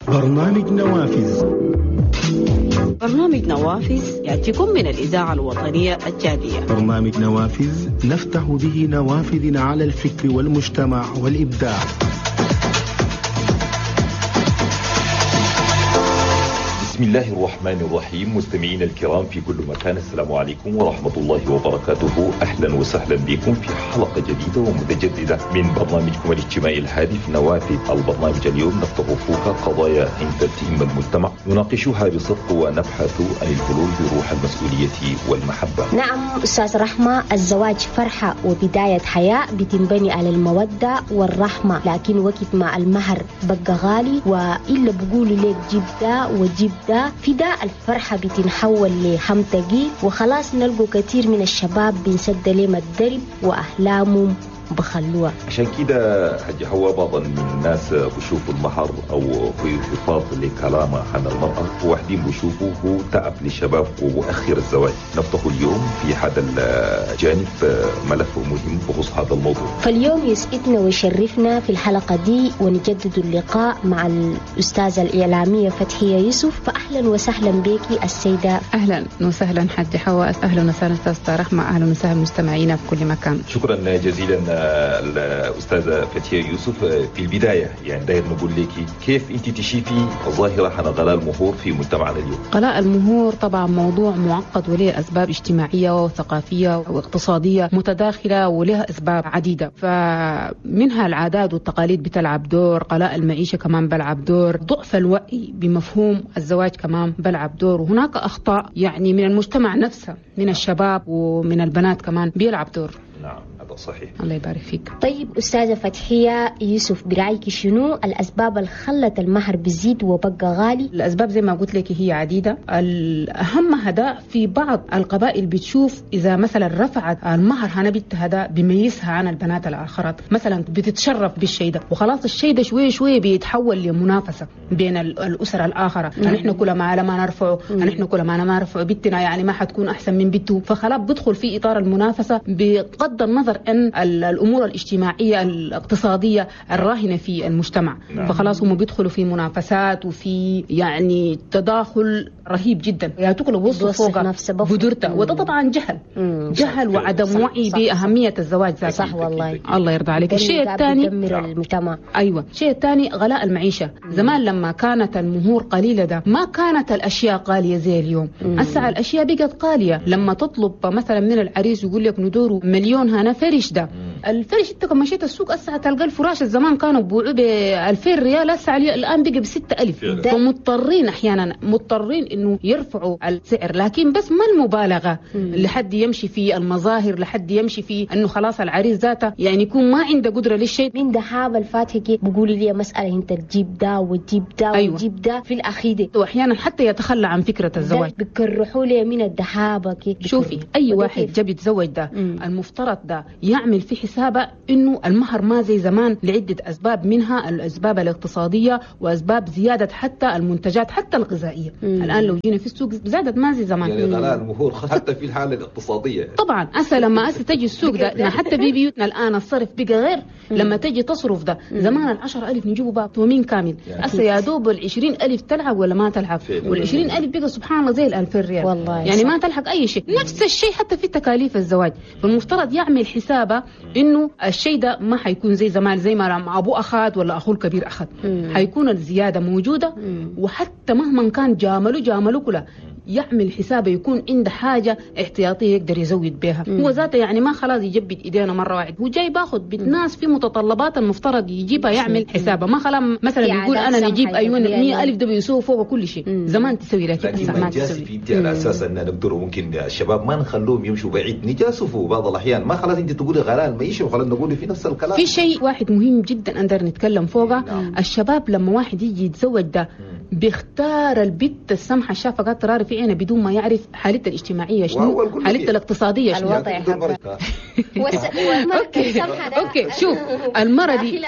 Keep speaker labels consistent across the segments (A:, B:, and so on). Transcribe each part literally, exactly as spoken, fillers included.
A: برنامج نوافذ.
B: برنامج نوافذ يأتيكم من الإذاعة الوطنية التشادية.
A: برنامج نوافذ نفتح به نوافذنا على الفكر والمجتمع والإبداع.
C: بسم الله الرحمن الرحيم. مستمعينا الكرام في كل مكان، السلام عليكم ورحمة الله وبركاته. أهلا وسهلا بكم في حلقة جديدة ومتجددة من برنامجكم الاجتماعي الهادف نوافذ. البرنامج اليوم نفتح فوق قضايا انت تهم المجتمع، نناقشها بصدق ونبحث عن الحلول بروح المسؤولية والمحبة.
D: نعم أستاذ رحمة، الزواج فرحة وبداية حياة بتنبني على المودة والرحمة، لكن وقت ما المهر بقى غالي وإلا بقولوا لك جيب ده وجيب ده، في ده الفرحة بتنحول لهم تقيل، وخلاص نلقوا كثير من الشباب بنسد لهم الدرب وأحلامهم بخلوها.
C: عشان كده حاج حوا بعض من الناس بشوفوا المهر او في انخفاض لكلامه عن المرأة، وواحدين بشوفوا هو تعب للشباب ومؤخر الزواج. نفتح اليوم في هذا الجانب ملف مهم بخصوص هذا الموضوع.
D: فاليوم يسعدنا ويشرفنا في الحلقة دي ونجدد اللقاء مع الأستاذة الإعلامية فتحية يوسف. فأهلا وسهلا بك السيدة.
E: أهلا وسهلا حاج حوا، أهلا وسهلا أستاذة رحمة، أهلا وسهلا مستمعينا في كل مكان.
C: شكرا جزيلا الأستاذة فتحية يوسف. في البداية يعني داير نقول لك كيف أنت تشوفي ظاهرة عن غلاء المهور في مجتمعنا اليوم؟
E: غلاء المهور طبعا موضوع معقد وله أسباب اجتماعية وثقافية واقتصادية متداخلة ولها أسباب عديدة، فمنها العادات والتقاليد بتلعب دور، غلاء المعيشة كمان بلعب دور، ضعف الوعي بمفهوم الزواج كمان بلعب دور، وهناك أخطاء يعني من المجتمع نفسه، من الشباب ومن البنات كمان بيلعب دور.
C: نعم هذا صحيح.
E: الله يبارك فيك.
D: طيب أستاذة فتحية يوسف، برأيك شنو الأسباب اللي خلت المهر بيزيد وبقى غالي؟
E: الأسباب زي ما قلت لك هي عديدة. الأهم هذا في بعض القبائل بتشوف إذا مثلا رفعت المهر هنا بنت هذا بيميزها عن البنات الآخرات، مثلا بتتشرف بالشيء ده، وخلاص الشيء ده شوية شوية بيتحول لمنافسة بين الأسر الآخرة. نحن كل ما على ما نرفعه، نحن كل ما ما نرفعه بنتنا يعني ما حتكون أحسن من بنته، فخلاص بدخل في إطار المنافسة بغض النظر أن الأمور الاجتماعية الاقتصادية الراهنة في المجتمع. نعم. فخلاص هم بيدخلوا في منافسات وفي يعني تداخل رهيب جدا، يا تقلب وصف فوق بدرته، وده طبعا جهل. مم. جهل وعدم وعي بأهمية الزواج ذاته.
D: صح والله.
E: الله يرضى عليك. الشيء الثاني
D: المجتمع.
E: أيوة، الشيء الثاني غلاء المعيشة. مم. زمان لما كانت المهور قليلة ده ما كانت الأشياء غالية زي اليوم. هسه الأشياء بقت غالية. لما تطلب مثلا من العريس يقول لك ندوره مليون هنا فرش ده، الفرش انت كما مشيت السوق هسه تلقى الفراش الزمان كانوا بيبيعوه ب ألفين ريال، هسه الان بقى ب ستة آلاف. فمضطرين احيانا مضطرين انه يرفعوا السعر، لكن بس ما المبالغه لحد يمشي في المظاهر، لحد يمشي في انه خلاص العريس ذاته يعني يكون ما عنده قدره للشيء.
D: من دهاب الفاتحه بيقولوا لي مساله انت تجيب ده وتجيب ده. أيوة. وتجيب ده في الاخير،
E: واحيانا حتى يتخلى عن فكره الزواج.
D: بكرحوا لي من الدهابه.
E: شوفي اي واحد جاب يتزوج ده مم. المفترض ده يعمل في حسابه انه المهر ما زي زمان لعده اسباب، منها الاسباب الاقتصاديه واسباب زياده حتى المنتجات حتى الغذائيه. مم. الان لو جينا في السوق زادت ما زي زمان،
C: يعني غلاء المهور حتى في الحاله الاقتصاديه
E: طبعا. هسه لما هسه تجي السوق ده حتى في بيوتنا الان الصرف بقى غير. مم. لما تجي تصرف ده زمان العشرة ألف نجيبوا بقى تومين كامل، هسه يا دوب العشرين ألف تلعب ولا ما تلعب، والعشرين ألف بقى سبحان الله زي الألفين ريال والله، يعني ما تلحق أي شيء. نفس الشيء حتى في تكاليف الزواج، فالمفترض يعمل حسابه انه الشيء ده ما حيكون زي زمان، زي ما ابوه اخذ ولا اخوه الكبير اخذ، حيكون الزياده موجوده. مم. وحتى مهما كان جاملوا جاملوا كله يعمل حسابه يكون عنده حاجه احتياطيه يقدر يزود بها. مم. هو ذاته يعني ما خلاص يجبد ايدينا مره واحده، هو جاي باخذ بيت ناس في متطلبات المفترض يجيبها يعمل حسابه، ما خلاص مثلا يقول انا نجيب ايون مية ألف ده بيسوي فوق كل شيء. مم. زمان تسوي لكن هسه ما تسوي.
C: انت على اساس ان نقدر ممكن الشباب ما نخلوهم يمشوا بعيد، نجاسفوا بعض الاحيان، ما خلاص انت تقولي غلاء المعيشه وخلاص نقول في نفس الكلام.
E: في شيء واحد مهم جدا نقدر نتكلم فوقه. نعم. الشباب لما واحد يجي يتزوج ده بيختار البت السمحه الشافه قاعد تراري في عينه بدون ما يعرف حالته الاجتماعيه شنو، حالته الاقتصاديه شنو. okay okay شوف المرة دي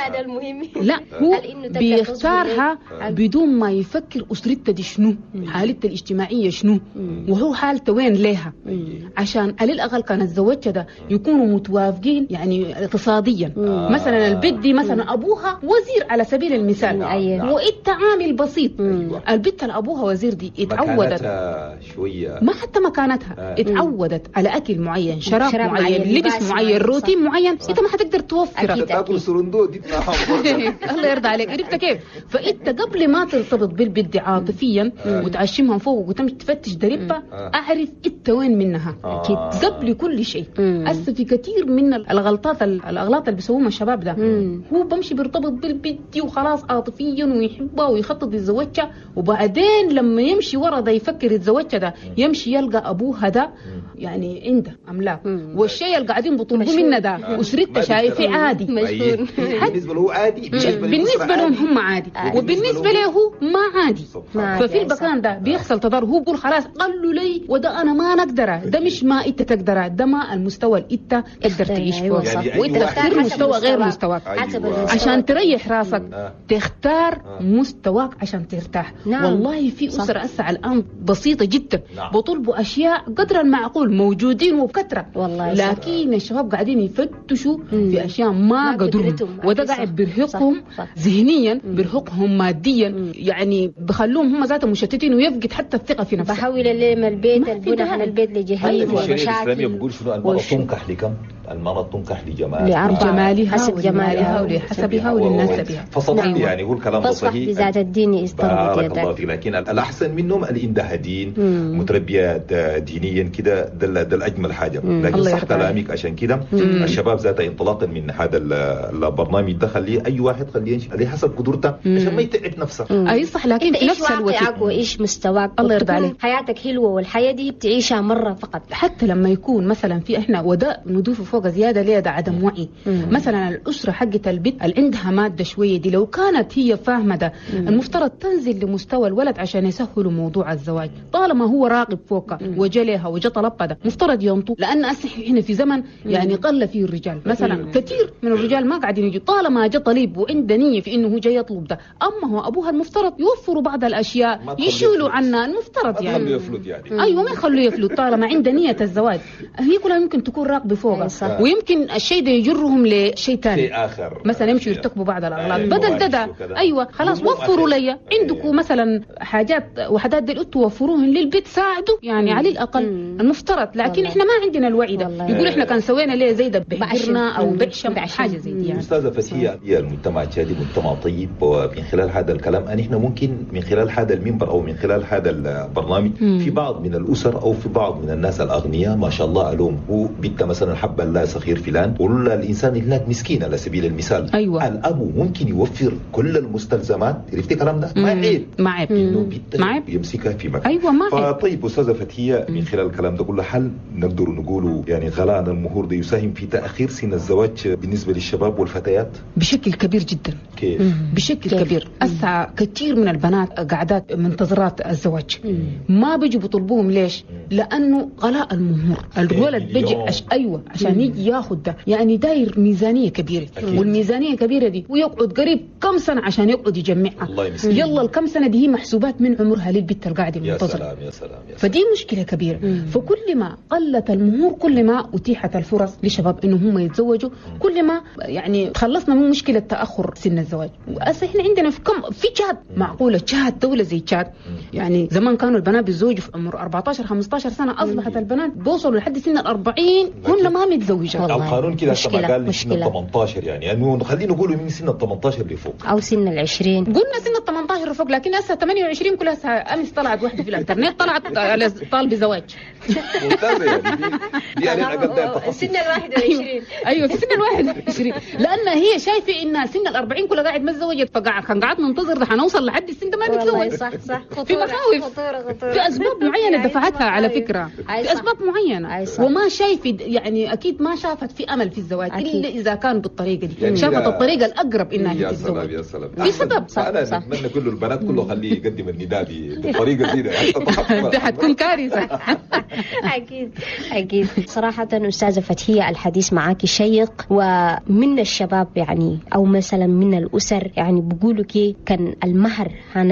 E: لا هو بيختارها بدون ما يفكر اسرته دي شنو، حالته الاجتماعية شنو، وهو حالته وين ليها، عشان على الاقل كان تزوجت ده يكونوا متوافقين يعني اقتصاديا. آه. مثلا البت دي مثلا ابوها وزير على سبيل المثال، نعم. وانت عامل بسيط. أيوة. البت اللي ابوها وزير دي اتعودت
C: شوية،
E: ما حتى مكانتها آه. اتعودت على اكل معين، شراب, شراب معين، لبس معين، روتين معين، انت ما حتقدر توفره.
C: تاكل سرندو دي
E: الله يرضى عليك، عرفت كيف؟ فانت قبل ما ترتبط بالبت دي عاطفيا وتعشمها فوق وتمشي تفتش دربها، اعرف انت وين منها اكيد قبل كل شيء. هسه في كثير من الغلطات الاغلاط اللي بيسووها الشباب ده، مم. هو بمشي بيرتبط بالبت وخلاص عاطفيا ويحبها ويخطط يتزوجها، وبعدين لما يمشي ورا ده يفكر يتزوجها ده، يمشي يلقى ابوها ده يعني عنده املاك، والشيء اللي قاعدين بيطلبوه منا ده اسرته شايفه عادي،
C: بالنسبة له عادي،
E: بالنسبة لهم هم عادي، وبالنسبة له ما عادي. ففي المكان ده بيحصل تضارب، هو بيقول خلاص قالوا لي وده انا ما نقدره، ده مش ما انت تقدره، ده ما المستوى اللي انت تقدر تعيش فوق، يعني وانت تختار مستوى غير مستواك. أيوة. عشان تريح راسك تختار مستواك عشان ترتاح. نعم. والله في اسره هسه الان بسيطة جدا، نعم. بطلبوا اشياء قدر المعقول موجودين وبكثرة والله، لكن الشباب قاعدين يفتشوا في اشياء ما قدرهم، وده قاعد بيرهقهم ذهنيا، بيرهقهم ماديا، يعني بخلوهم هم ذاتهم مشتتين ويفقد حتى الثقة في نفسه.
D: بحاول اللي البيت البنى على البيت لجهيم
C: ومشاكل. الإسلامية بيقول شنو؟ المرأة تنكح لكم؟ المرأة تنكح لجمالها،
E: لجمالها حسب جمالها ولحسبها ولنسبها.
C: فصدق نعم. يعني هو الكلام ده صحيح،
D: بذات الدين استربط
C: يدك. بارك الله فيك. لكن الأحسن منهم اللي عندها دين، متربية دينيا كده، ده ده الأجمل حاجة. لكن صح كلامك، عشان كده الشباب ذاته انطلاقا من هذا البرنامج ده خليه أي واحد خليه يمشي عليه حسب قدرته عشان ما يتعب نفسه.
E: أي صح، لكن في نفس الوقت
D: وإيش مستواك،
E: الله يرضى عليك،
D: حياتك حلوة والحياة دي بتعيشها مرة فقط.
E: حتى لما يكون مثلا في احنا وده نضيف فوق زيادة ليه ده عدم وعي. مم. مثلا الاسرة حقت البيت اللي عندها مادة شوية دي لو كانت هي فاهمه ده، مم. المفترض تنزل لمستوى الولد عشان يسهلوا موضوع الزواج، طالما هو راقب فوقها وجلها وجا طلبها ده مفترض ينطو، لان هسه احنا في زمن يعني قل فيه الرجال مثلا، مم. كثير من الرجال ما قاعدين يجوا، طالما جا طليب وعنده نيه في انه هو جاي يطلب ده، اما هو ابوها المفترض يوفروا بعض الاشياء يشيلوا عنا المفترض
C: يعني يفلت يعني.
E: ايوه ما يخلوه يفلت طالما عنده نيه الزواج، هي كلها ممكن تكون راقبه فوقها، ويمكن الشيء ده يجرهم لشيء ثاني،
C: شيء اخر
E: مثلا يمشوا يرتكبوا بعض الاغلاط. بدل ده, ده ايوه خلاص وفروا لي عندكم مثلا حاجات وحدات دي توفروهن للبيت، ساعدوا يعني على الاقل المفترض. لكن احنا ما عندنا الوعي ده، يقول احنا كان سوينا ليه زي ده بحجرنا او بعشم حاجة زي دي يعني.
C: استاذه فتحيه، المجتمع التشادي مجتمع طيب، ومن خلال هذا الكلام ان احنا ممكن من خلال هذا المنبر او من خلال هذا البرنامج في بعض من الاسر او في بعض من الناس الاغنياء ما شاء الله الوم هو بنت مثلا حب الله صغير فلان، ولا الانسان هناك مسكين على سبيل المثال.
E: أيوة.
C: الاب ممكن يوفر كل المستلزمات، عرفتي الكلام ده؟ ما عيب،
E: ما عيب
C: انه بنت يمسكها في مكان.
E: ايوه ما عيب.
C: فطيب استاذه فتحيه، من خلال الكلام ده كله هل نقدر نقوله يعني غلاء المهور ده يساهم في تاخير سن الزواج بالنسبة للشباب والفتيات؟
E: بشكل كبير جدا.
C: كيف؟
E: بشكل كيف؟ كبير. هسه كثير من البنات قاعدات منتظرات الزواج، ما بيجوا بيطلبوهم. ليش؟ لانه غلاء المهور، الولد بيجي عش... ايوه عشان يجي ياخذ ده، يعني داير ميزانية كبيرة. أكيد. والميزانيه الكبيرة دي ويقعد قريب كم سنة عشان يقعد يجمعها.
C: الله يمسكين.
E: يلا الكم سنة دي هي محسوبات من عمرها للبت القاعدة المنتظره.
C: يا سلام يا سلام يا سلام.
E: فدي مشكلة كبيرة. مم. فكل ما قلت المهور كل ما اتيحت الفرص لشباب انه هم يتزوجوا، كل ما يعني تخلصنا من مشكلة تاخر سن الزواج. وهسه احنا عندنا في كم في تشاد، معقولة تشاد دولة زي تشاد يعني زمان كانوا البنات بيتزوجوا في عمر أربعتاشر خمستاشر سنة، اصبحت البنات بيوصلوا لحد سن الأربعين هن ما متزوجات.
C: القانون كده كما قال سن ال ثمانتاشر يعني يعني خلينا نقول من سن ال ثمانتاشر لفوق
D: او سن ال عشرين.
E: قلنا سن ال ثمانتاشر لفوق، لكن هسه ثمانية وعشرين كلها. امس طلعت واحدة في الانترنت طلعت على طالب زواج.
C: ممتازة يعني دي دي على الاقل
D: سن ال واحد وعشرين.
E: ايوه في سن ال واحد وعشرين، لان هي شايفه ان سن ال أربعين كلها قاعد ما تزوجت، فقاعد كان قاعد ننتظر ده حنوصل لحد السن ده ما نتزوج.
D: صح صح.
E: في مخاوف، في اسباب معينة دفعتها على فكرة، في اسباب معينة، وما شايفه يعني اكيد ما شافت في امل في الزواج الا اذا كان بالطريقة دي. يعني شافت الطريقة الاقرب انها
C: يا
E: تتزوج.
C: سلام يا سلام.
E: في سبب.
C: صح انا صح. اتمنى كل البنات كله خليه يقدم النداء بالطريقة دي.
E: ده حتكون كارثة.
D: اكيد اكيد. صراحة استاذه فتحيه الحديث معك شيق، ومن الشباب يعني او مثلا من الاسر يعني بيقولوا كي كان المهر عن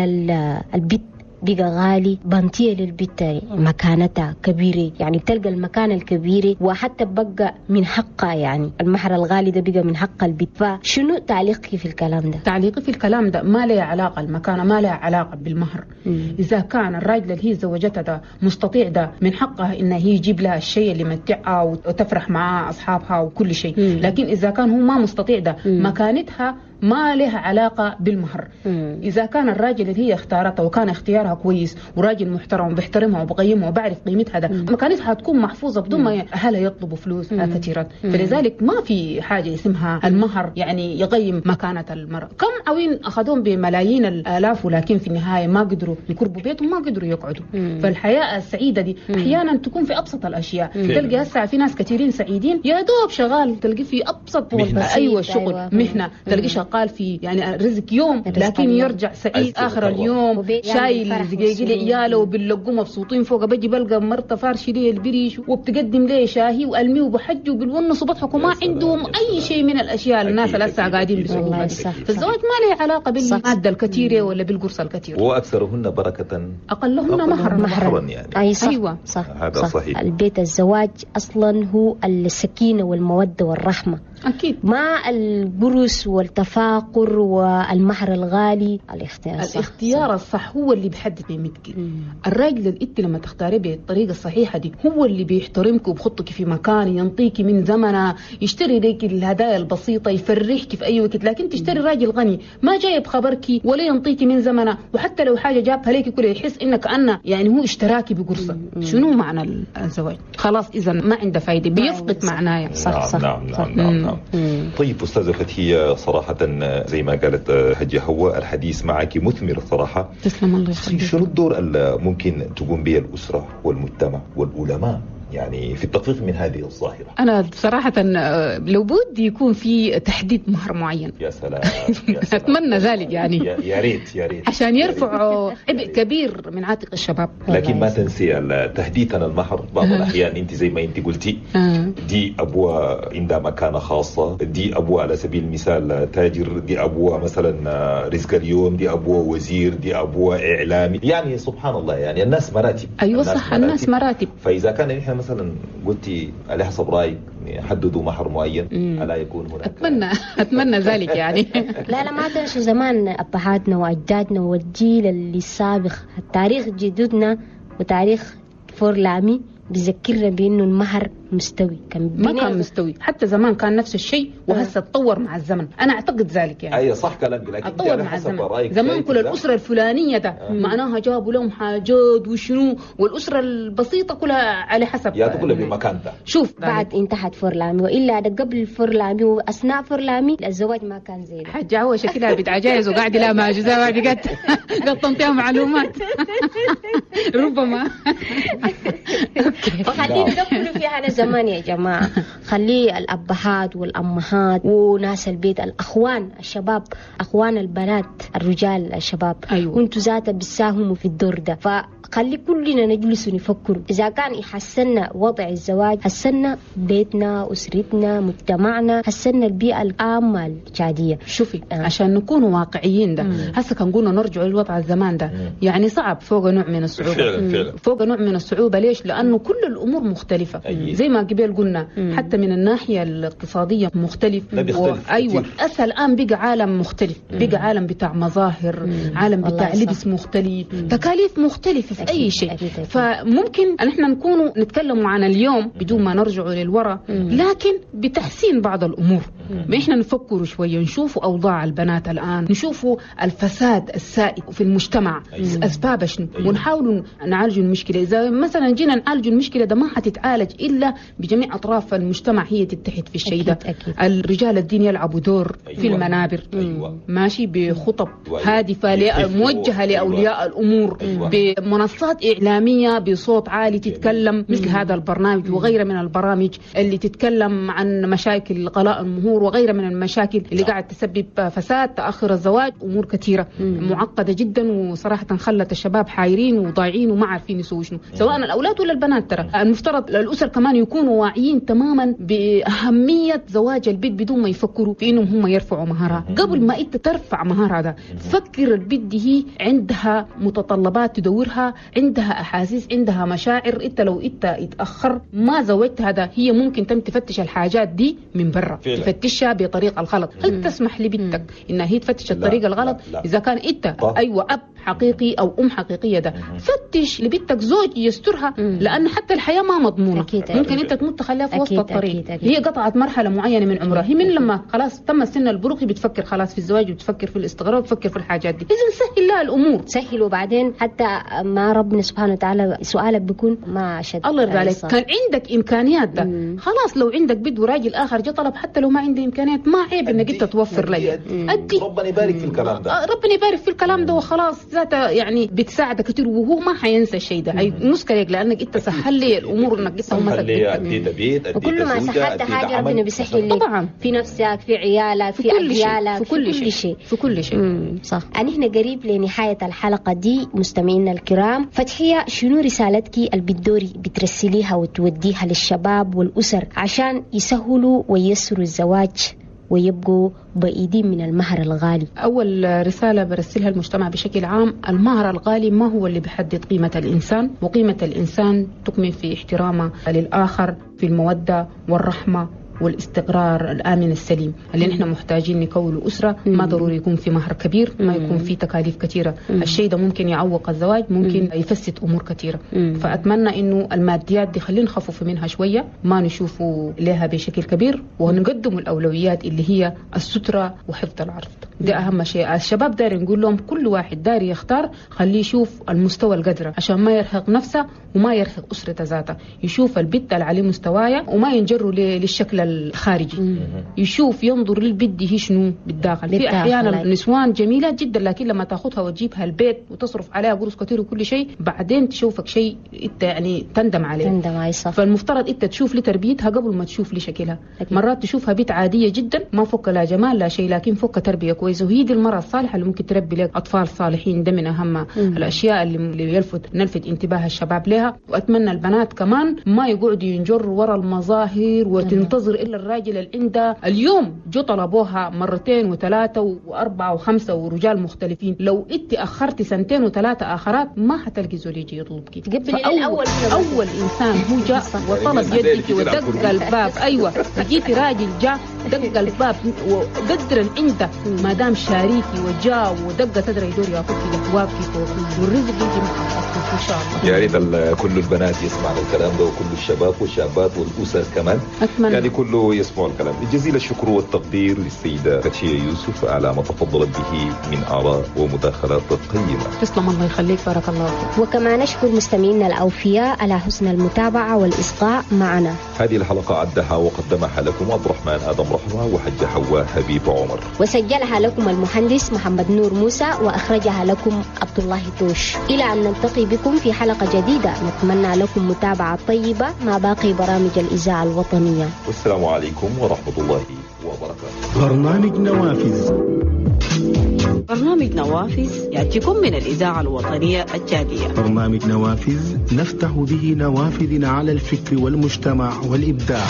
D: البيت بقى غالي، بنتية للبت مكانتها كبيرة، يعني بتلقى المكانة الكبيرة وحتى بقى من حقها، يعني المهر الغالي ده بقى من حق البت. فشنو تعليقك في الكلام ده؟
E: تعليقي في الكلام ده ما له علاقة، المكانة ما لها علاقة بالمهر. مم. إذا كان الراجل اللي هي زوجتها ده مستطيع ده من حقها إنه هي يجيب لها الشيء اللي متعها وتفرح مع أصحابها وكل شيء. مم. لكن إذا كان هو ما مستطيع ده مم. مكانتها ما لها علاقة بالمهر. مم. إذا كان الراجل اللي هي اختارته وكان اختيارها كويس وراجل محترم وبيحترمها وبقيمها وبعرف قيمتها ده، مكانتها هتكون محفوظة بدون ما أهلها يطلبوا فلوس كثيرة. فلذلك ما في حاجة اسمها المهر يعني يقيم مكانة المرأة. كم عوين أخذوهم بملايين الآلاف ولكن في النهاية ما قدروا يقربوا بيتهم، ما قدروا يقعدوا. مم. فالحياة السعيدة دي مم. أحيانا تكون في أبسط الأشياء. مم. تلقى هسه في ناس كثيرين سعيدين يا دوب شغال، تلقي في أبسط مهنة. أيوة شغل أيوة. مهنة تلقي شغال في يعني رزق يوم، لكن يرجع سعيد آخر اليوم شايل زقيقي لعياله وبنلقوه مبسوطين فوق. بجي بلقى مرته فارشة ليه البريش وبتقدم ليه شاهي وألمي وبحج وبالونس وبضحك وما عندهم أي شيء من الأشياء الناس اللي هسه قاعدين بيسووها. فالزواج ما له علاقة بالمادة الكثيرة ولا بالقرصة الكثيرة.
C: وأكثرهن بركة
E: أقلهن مهرا.
C: مهرا يعني.
D: أي صح. أيوة. صح.
C: هذا صح. صحيح.
D: البيت الزواج أصلا هو السكينة والمودة والرحمة.
E: أكيد.
D: مع البرس والتفاقر والمهر الغالي. الاختيار
E: الصح. الاختيار الصح هو اللي بيحدد قيمتك. الراجل اللي انت لما تختاريه بالطريقة الصحيحة دي هو اللي بيحترمك وبخطك في مكان، ينطيك من زمنه، يشتري لك الهدايا البسيطة، يفرحك في اي وقت. لكن تشتري راجل غني ما جايب خبرك ولا ينطيك من زمنه، وحتى لو حاجة جابها لك كله يحس انك انا يعني هو اشتراكي بقرصه. شنو معنى الزواج؟ خلاص اذا ما عنده فايده، بيفقد معناه.
D: صح صح.
C: نعم نعم نعم, نعم. طيب أستاذة فتحية، صراحة زي ما قالت حجة هو الحديث معك مثمر صراحة.
E: تسلم الله يخليك.
C: شنو الدور اللي ممكن تقوم به الأسرة والمجتمع والعلماء يعني في التخفيف من هذه الظاهرة؟
E: أنا صراحة لو بدي يكون في تحديد مهر معين.
C: يا سلام, يا سلام.
E: أتمنى ذلك يعني.
C: يا ريت يا ريت
E: عشان يرفعوا عبء كبير من عاتق الشباب.
C: لكن ما تنسي تهديدنا المهر بعض الأحيان. أنت زي ما أنت قلتي دي أبوها عندها مكانة خاصة، دي أبوها على سبيل المثال تاجر، دي أبوها مثلا رزق اليوم، دي أبوها وزير، دي أبوها إعلامي، يعني سبحان الله يعني الناس مراتب.
E: أيوة صح، الناس مراتب.
C: فإذا كان نحن مثلا قلتي على حسب رايك حددوا مهر معين، الا يكون هناك؟
E: اتمنى اتمنى ذلك يعني.
D: لا لا ما تنسوا زمان ابهاتنا واجدادنا والجيل اللي السابق، التاريخ جدودنا وتاريخ فورلامي بيذكرنا بانه المهر مستوي.
E: كان ما كان مستوي حتى زمان، كان نفس الشيء وهسه تطور مع الزمن. انا اعتقد ذلك يعني.
C: اي صح كلامك، لكن
E: تطور مع الزمن. زمان كل الاسرة الفلانية ده آه. معناها جابوا لهم حاجات وشنو، والاسرة البسيطة كلها على حسب
C: يا تقول بمكانتها.
E: شوف
D: بعد انتهت فورلامي، والا ده قبل فورلامي واثناء فورلامي الزواج ما كان زي ده.
E: حاجة هو شكلها بنت عجايز وقاعدة لا ما عجوزه قد قد تنطيها معلومات ربما.
D: فخلينا ندخل في هذا زمان يا جماعة. خلي الأبهات والأمهات وناس البيت، الأخوان الشباب، أخوان البنات، الرجال الشباب،
E: أيوة.
D: وانتوا ذاتا بتساهموا في الدور ده. فخلي كلنا نجلس ونفكر إذا كان يحسننا وضع الزواج، حسنا بيتنا، أسرتنا، مجتمعنا، حسنا البيئة العامة التشادية.
E: شوفي آه. عشان نكون واقعيين ده هسه كان قلنا نرجع للوضع الزمان ده مم. يعني صعب، فوق نوع من الصعوبة.
C: فعلا فعلا
E: فوق نوع من الصعوبة. ليش؟ لأنه كل الأمور مختلفة.
C: أيه.
E: زي ما قبل قلنا مم. حتى من الناحية الاقتصادية مختلف.
C: و...
E: أيوة أسا الآن بقى عالم مختلف، بقى عالم بتاع مظاهر، مم. عالم بتاع لبس مختلف، مم. تكاليف مختلفة في أي شيء.
D: أكيد. أكيد.
E: فممكن نحن نكون نتكلم عن اليوم بدون ما نرجع للوراء، لكن بتحسين بعض الأمور. ما إحنا نفكر شوية، نشوف أوضاع البنات الآن، نشوف الفساد السائد في المجتمع.
C: أيوة.
E: أسبابه شنو،
C: أيوة.
E: ونحاول نعالج المشكلة. إذا مثلا جينا نعالج المشكلة ده ما حتتعالج إلا بجميع أطراف المجتمع هي تتحد في الشيء ده. الرجال الدين يلعبوا دور.
C: أيوة.
E: في المنابر.
C: أيوة.
E: ماشي بخطب
C: أيوة.
E: هادفة موجهة لأولياء الأمور.
C: أيوة.
E: بمنصات إعلامية بصوت عالي تتكلم مثل هذا البرنامج وغيره من البرامج اللي تتكلم عن مشاكل غلاء المهور المهور وغيرها من المشاكل اللي قاعد تسبب فساد، تاخر الزواج، امور كثيرة معقدة جدا، وصراحة خلت الشباب حايرين وضايعين وما عارفين يسووا شنو، سواء الاولاد ولا البنات. ترى المفترض الاسر كمان يكونوا واعيين تماما باهمية زواج البيت بدون ما يفكروا في انهم هم يرفعوا مهرها. قبل ما انت ترفع مهرها ده فكر البيت دي هي عندها متطلبات تدورها، عندها احاسيس، عندها مشاعر. انت لو انت اتاخر ما زوجت هذا هي ممكن تم تفتش الحاجات دي من برا، تفتشها بطريقة الغلط. هل تسمح لبنتك انها هي تفتش الطريقة الغلط؟ لا لا. اذا كان انت ايوه اب حقيقي او ام حقيقية ده فتش لبنتك زوج يسترها، لان حتى الحياة ما مضمونه. أكيد. ممكن انت تموت تخليها في وسط الطريق. أكيد. أكيد. هي قطعت مرحلة معينة من عمرها، هي من لما خلاص تم السن البلوغي بتفكر خلاص في الزواج وتفكر في الاستقرار وتفكر في الحاجات دي. اذا سهل لها الامور،
D: سهل. وبعدين حتى مع ربنا سبحانه وتعالى سؤالك بيكون ما شد.
E: الله يرضى عليك. كان عندك امكانيات ده مم. خلاص لو عندك بد وراجل اخر جه طلب حتى لو ما عندي امكانيات ما عيب انك انت توفر لي.
C: ادي ربنا يبارك في الكلام ده،
E: ربنا يبارك في الكلام ده وخلاص. ذاته يعني بتساعدك كثير وهو ما حينسى الشيء ده، حيمسكك لانك انت سهل لي الامور انك انت
C: مسكت اديت بيت،
D: وكل ما سهلت حاجة ربنا بيسهل لك
E: طبعا،
D: في نفسك، في عيالك، في اجيالك،
E: في كل شيء، في كل شيء.
D: صح. احنا قريب لنهاية الحلقة دي مستمعينا الكرام. فتحيه، شنو رسالتك اللي بتدوري بترسليها وتوديها للشباب والاسر عشان يسهلوا ويسروا الزواج ويبقوا بعيدين من المهر الغالي؟
E: أول رسالة برسلها المجتمع بشكل عام، المهر الغالي ما هو اللي بيحدد قيمة الإنسان، وقيمة الإنسان تكمن في احترامه للآخر، في المودة والرحمة والاستقرار الآمن السليم اللي نحن محتاجين نكون أسرة. ما ضروري يكون في مهر كبير، ما يكون في تكاليف كثيرة. الشيء ده ممكن يعوق الزواج، ممكن يفسد أمور كثيرة. فأتمنى إنه الماديات دي خلينا نخفف منها شوية، ما نشوفوا لها بشكل كبير، ونقدم الأولويات اللي هي السترة وحفظ العرض. ده أهم شيء. الشباب داري نقول لهم كل واحد داري يختار، خليه يشوف المستوى القدرة عشان ما يرهق نفسه وما يرهق أسرته ذاته، يشوف البت اللي عليه مستوايا وما ينجروا للشكل الخارجي. مم. يشوف ينظر للبت هي شنو بالداخل. في احيانا نسوان جميلات جدا لكن لما تاخذها وتجيبها البيت وتصرف عليها قروش كثير وكل شيء، بعدين تشوفك شيء انت يعني تندم عليه.
D: تندم عليه صح.
E: فالمفترض انت تشوف لتربيتها قبل ما تشوف لشكلها. مرات تشوفها بيت عادية جدا ما فوق لا جمال لا شيء، لكن فوق تربيه كويسة، وهي دي المراة الصالحة اللي ممكن تربي لك اطفال صالحين. ده من اهم مم. الاشياء اللي يلفت نلفت انتباه الشباب لها. واتمنى البنات كمان ما يقعدوا ينجروا ورا المظاهر وتنتظر إلا الراجل اللي عنده. اليوم جو طلبوها مرتين وثلاثة وأربعة وخمسة ورجال مختلفين، لو انت أخرتي سنتين وثلاثة آخرات ما حتلقي زول يجي يطلبك.
D: أول,
E: أول إنسان هو جاء وطلب يدك ودق الباب، أيوة لقيتي راجل جاء دق الباب وقدر عنده ما دام شاريكي وجاء ودق صدره يدور ياخذ كده واقفي فوق، والرزق يجي مع إن شاء الله.
C: يا ريت كل البنات يسمعوا الكلام ده، وكل الشباب والشابات والأسر كمان.
E: أتمنى
C: يعني كله يسمعوا الكلام. جزيل الشكر والتقدير للسيدة فتحية يوسف على ما تفضلت به من آراء ومداخلات قيمة.
E: تسلم، الله يخليك، بارك الله فيك.
D: وكما نشكر مستمعينا الأوفياء على حسن المتابعة والإصغاء معنا.
C: هذه الحلقة عدها وقدمها لكم عبد الرحمن آدم رحمة وحج حواء حبيب عمر،
D: وسجلها لكم المهندس محمد نور موسى، وأخرجها لكم عبد الله توش. إلى أن نلتقي بكم في حلقة جديدة، نتمنى لكم متابعة طيبة مع باقي برامج الإذاعة الوطنية.
C: والسلام عليكم ورحمة الله وبركاته.
A: برنامج نوافذ.
B: برنامج نوافذ يأتيكم من الإذاعة الوطنية التشادية.
A: برنامج نوافذ نفتح به نوافذنا على الفكر والمجتمع والإبداع.